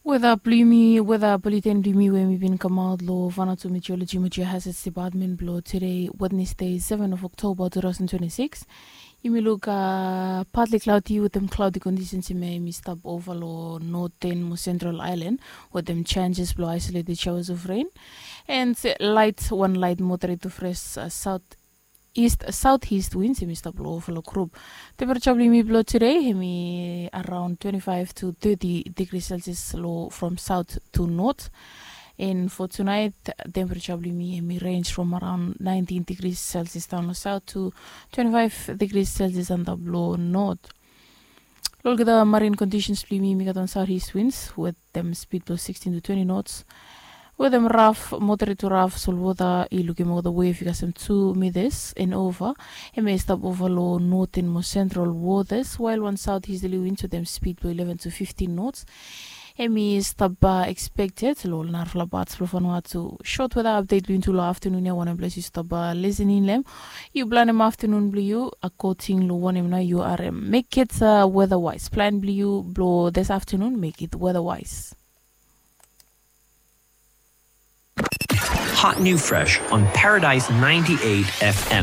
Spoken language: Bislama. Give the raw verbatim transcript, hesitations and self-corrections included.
Weda blong yumi, weda buleten blong yumi we mi bin kamaot long Vanuatu Meteorology mo Geohazards Department blong today, Wednesday, seven of October two thousand twenty-six. Yumi luk, uh, partly cloudy wetem cloudy conditions hemia hemi stap ova long northern mo central island wetem chances blong isolated showers of rain and light, one light moderate to fresh, uh, south east southeast winds hemi stap long overall group. Temperature blong yumi blong today hemi around twenty-five to thirty degrees Celsius long from south to north. And for tonight, temperature blong yumi hemi range from around nineteen degrees Celsius down long south to twenty-five degrees Celsius antap long north. Long olgeta marine conditions blong yumi, mi gat wan southeast winds wetem speed blong sixteen to twenty knots wetem rough, moderate to rough solwota. I lukim olgeta wave i kasem two meters and over. Hemia i stap ova long northern mo central waters, while wan southeasterly winds wetem speed blong eleven to fifteen knots hemi stap, uh, expected long ol narafala parts blong Vanuatu. Short weather update blong yumi tu long afternoon ya, wanem ples yu stap, uh, listening long hem. Yu planem afternoon blong yu according long wanem nao yu harem. Make it, uh, weather wise. Plan blong yu blong this afternoon, make it weather wise. Hot new fresh on Paradise ninety-eight F M.